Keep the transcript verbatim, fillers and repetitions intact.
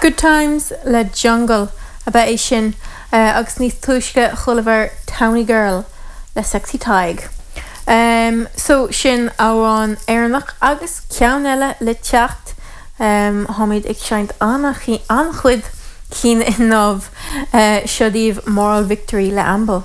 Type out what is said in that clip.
Good Times le Jungle ab ea é sin uh, agus níos túisce chualamar Towny Girl le Sexy Tadhg. Um, so sin amhrán Éireannach agus ceann eile le teacht um, táimid ag seinnt an-chuid cinn inniu uh, seo daoibh Moral Victory le Amble.